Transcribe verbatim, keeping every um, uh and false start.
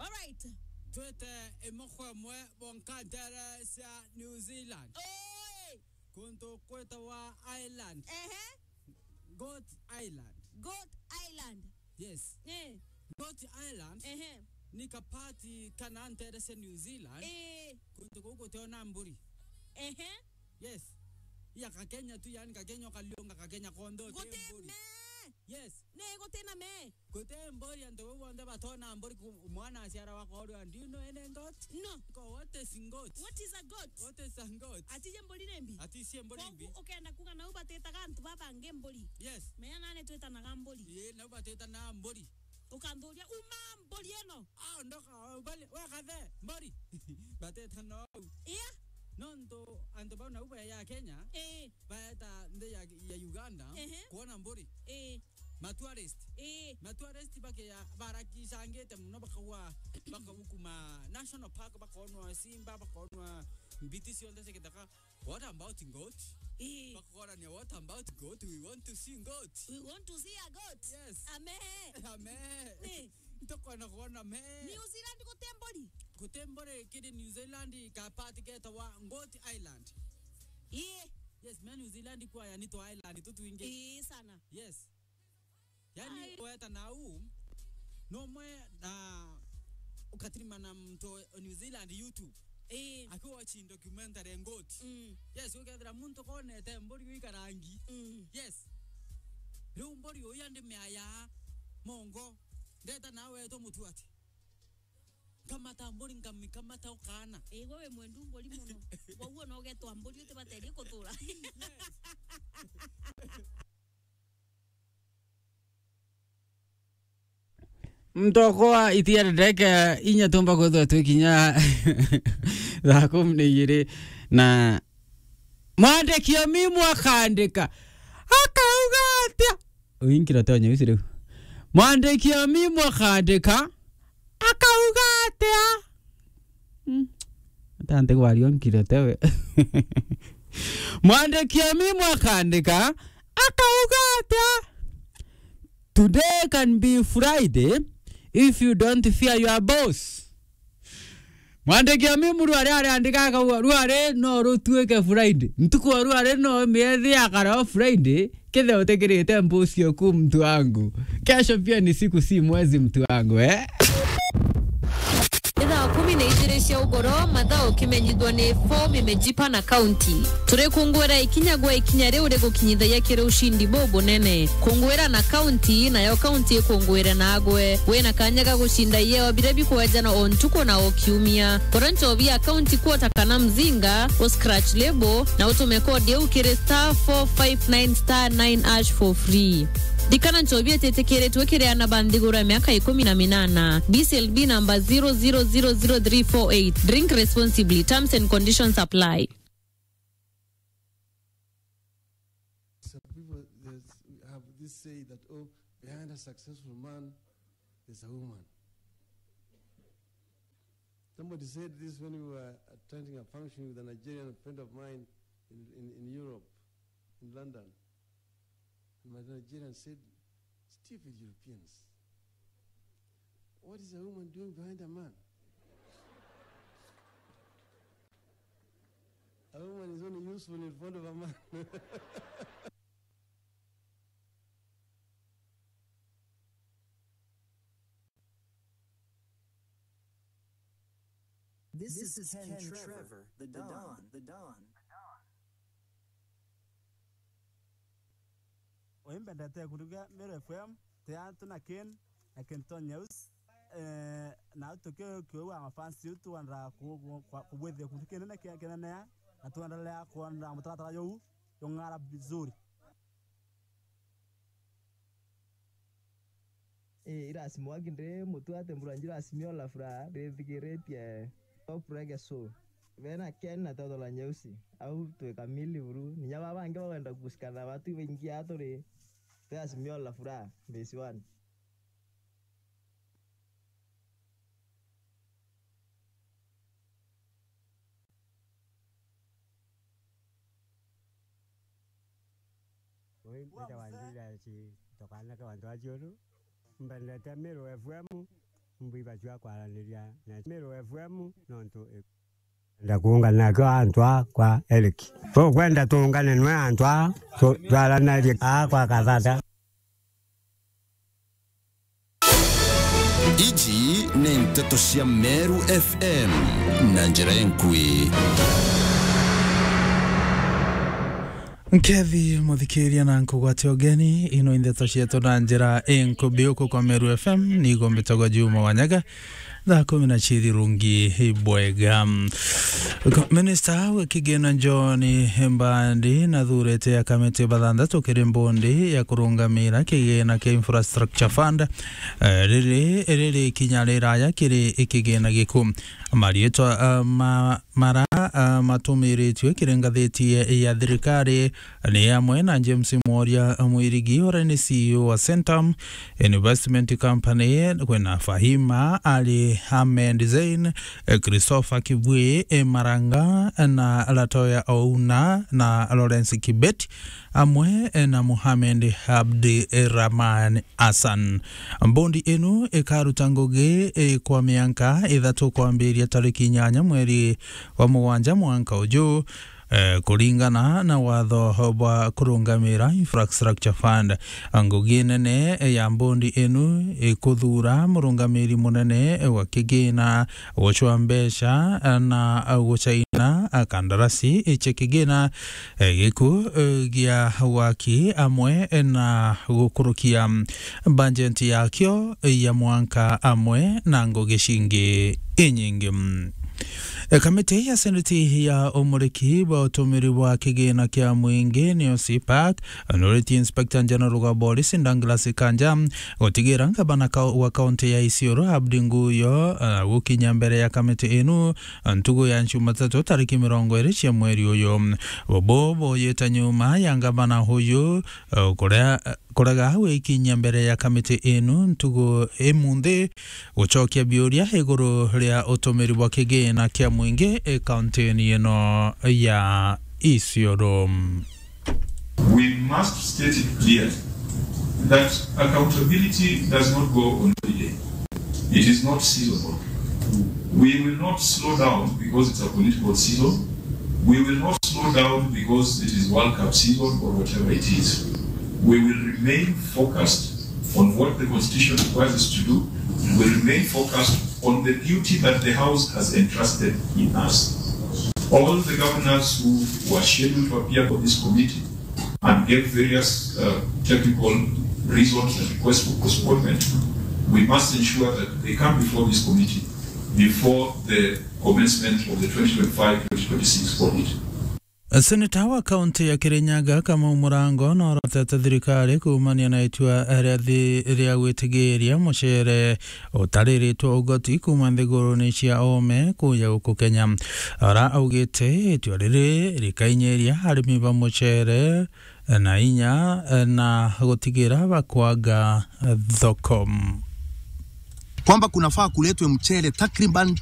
Alright. Twite imwe kwa imwe bonka ntere cia New Zealand. Oi! Kuntu kwitawa Ireland. Ehe. Goat Island. Goat Island. Yes. Eh. Goat Island. Ehe. Ni kapati kana ntere cia New Zealand. Eh. Kuntu kuu guteona mburi. Ehe. Yes. Ya Kakenya tu, yani Kakenya ukaliunga Kakenya konthe uti mburi. Guti me. Yes. Ne guti na me. Guti mburi, antu bau bonthe batona mburi ku-, mwana aciara wakorwa, "Do you know any goat?" No. Ko, what is goat? What is a goat? What is a goat? Ati je mburi ni mbi? Ati cie mburi mbi? Kogu ukenda kuga nau batitaga antu babangi mburi. Yes. Menya nani twitanaga mburi. Ii, nau batitanaga mburi. Ukanthuria, "Uma mburi ino." Ah, ndoka, ubali, we kathe, mburi. Batitana au. Iya. Nontu antu bau nau ba ya Kenya, ii, baeta nthi ya, ya Uganda, ehe, kuona mburi. Ii. Matourist. Ii. Matourist bakeya barakicangite mono, bakagwa, bakagukuma national park, bakonwa simba, bakonwa mbiti cionthe cia githaka. What about goat? Ii. Bakagorania, "What about goat? We want to see goat." We want to see a goat. Yes. Ame. Ame. Ii. Ntukwenda kwona me. New Zealand guti mburi? Guti mburi kiri New Zealand, kapati ketawa Goat Island. Ii. Yes, me New Zealand kwaya ni twa island tutwingi. Ii, sana. Yes. Yani, ai, weta nau, nomwe na ukatirimana muntu o New Zealand YouTube. Ii. Akiwatching documentary Goat. Mm. Yes, ukethira muntu konete mburi ikarangi. Mm. Yes. Riu mburi uyu andi meaya mongo. Ndeta nawe tu mutu ati. Kamata mburi, nkamikamata ukaana. Ii, we wi mwendu mburi mono. Wauo no ugetwa mburi utibaterie kuthura. Yes. Mtoko wa itia ndeke inya tumba kwithwa twi kinya thaa kumi na igiri na mwandiki o mimu akandika, akauga atia? Uyu nkiro te onye ucio riu. Mwandiki o mimu akandika, akauga atia? Mm. Ata ntigwaria o nkiro tewe. Mwandiki o mimu akandika, akauga atia? Today can be Friday if you don't fear your boss. Mwandiki o mimu rwari ariandika akauga, rwari no rutuike Friday. Ntuku o rwari no miethe akara o Friday, kethira utikirite mbusi oku mtu wangu. Kesho pia ni siku si mwezi mtu wangu, eh? Ni thaa kumi na igiri cia ugoro, mathaa ukimenyithwa ni Fomi Mejipa na County. Turikunguira ikinya gwa ikinya riu rigukinyithagia kiri ushindi bubunene. Kunguira na County, nayo County ikunguire nagwe. Wina kanya ga gucinda ieo biria bikwejanwa o ntuku na o kiumia. Gura nchobi ya County Quarter kana Mzinga, u scratch label, na utume code iu kiri star four five nine star nine hash for free. Ririkana nchobi ititikiritwe kiri aana ba nthiguru ya miaka ikumi na minana. B C L B number zero zero zero zero three four eight. Drink responsibly. Terms and conditions apply. Some people, they s-, have this say that, "Oh, behind a successful man, there's a woman." Somebody said this when we were attending a function with a Nigerian friend of mine in, in, in Europe, in London. And my Nigerian said, "Stupid Europeans. What is a woman doing behind a man? A woman is only useful in front of a man." This is Ken Trevor, the Don, the Don. Uyu mbendete kuruga Meru F M, ti antu na Ken, na Ken Tonyous. Eh, na tuki-, kiuga mafans yu twenda ku-, ku-, kwa-, kubwithia kuntu kinene kia kinene, na twendelea kwenda mutaratara juu jung'ara vizuri. Eh, irasimo aki ndi mutu ati mbura njira simio la furaha, ndithikiritie top reggae show. Bena Ken na Toto la Nyeusi, au twi kamili buru. Ninya baba bangi bagwenda kusikana batu baingi aturi. Twi Azimio la Furaha, phase one. Ui, mbitawa Julius Tokana Kawantu wa Ciuru. Mbendete Meru F M. Mbu ibachwa kwaraniria na Meru F M nontu i-, enda kuungana nakio antu aa kwa Eric. Tukwenda tuungane nwe antu aa, tu-, twaranarie aa kwa Kathata. Iji ni nteto cia Meru F M na njira enkui. Nkethi muthikiria na nkugwate ugeni, ino i ndeto cietu na njira inkubi uku kwa Meru F M, nigo mbitagwa Juma Wanyaga, thaa kumi na ciiri rungi bwega. Ko-, Minista wa kigina John Mbadi nathurite akamiti bathanthatu kiri mbondi ya kurungamira kigina kia Infrastructure Fund, eh, riri, riri ikinya riraya kiri kigina giku. Mariitwa, eh, ma-, mara, eh, matumiritue kiri ngathiti ya, ya thirikari ni amwe na James Mworia Mwirigi, uria ni C E O wa Centum Investment Company, kwina Fahima Ali Ahmed Zein, eh, Christopher Kibui, eh, Maranga, na Latoya Ouna, na Lawrence Kibet, amwe, eh, na Mohamed Abdi Rahman Hassan. Mbondi inu ikaruta ngugi, eh, kwa mianka ithatu kwambiria tariki inyanya mweri wa mugwanja mwanka uju, eh, kuringana na watho bwa kurungamira Infrastructure Fund. Ngugi nene ya mbondi inu ikuthuura murungamiri munene wa kigina, gucwa mbeca na gucaina kandarasi cia kigina, eh, giku, eh, gia waki amwe na gukurukia bajeti yakio ya mwanka amwe na ngugi cingi inyingi. E, kamiti ya seneti ya umuriki bwa utumiri bwa kigina kia mwingi, niyo CPAC, nuriti Inspector General wa Police Douglas Kanja gutigira ngavana ka-, wa kaunti ya Isiolo Abdi Nguyo, eh, gukinya mbere ya kamiti inu ntugu ya Jumatatu tariki mirongo iri cia mweri uyu. Bobo boyite nyuma ya ngavana uyu, eh, kurea-, kurega gwikinyia mbere ya kamiti inu ntugu imunthi gucokia biuria iguru ria utumiri bwa kigina kia mwingi, eh, kauntini ino ya Isiolo. We must state it clearly that accountability does not go on holiday. It is not seasonal. We will not slow down because it's a political season. We will not slow down because it is World Cup season or whatever it is. We will remain focused on what the Constitution requires us to do. We will remain focused on the duty that the House has entrusted in us. All the governors who were scheduled to appear for this committee and gave various, uh, technical reasons and requests for postponement, we must ensure that they come before this committee before the commencement of the twenty twenty-five twenty twenty-six audit. Seneta wa kaunti ya Kirinyaga, Kamau Murango, norotete thirikari kuumania na itua ria thi-, ria gwitigiria mucere utariritwe ugoti kuuma nthiguruni cia oome kuuja guku Kenya. Ara augite itua riri rikainyiria arimi ba mucere na inya na gutigira bakwaga thoko. Kwamba kunafaa kuletwe mchele takriban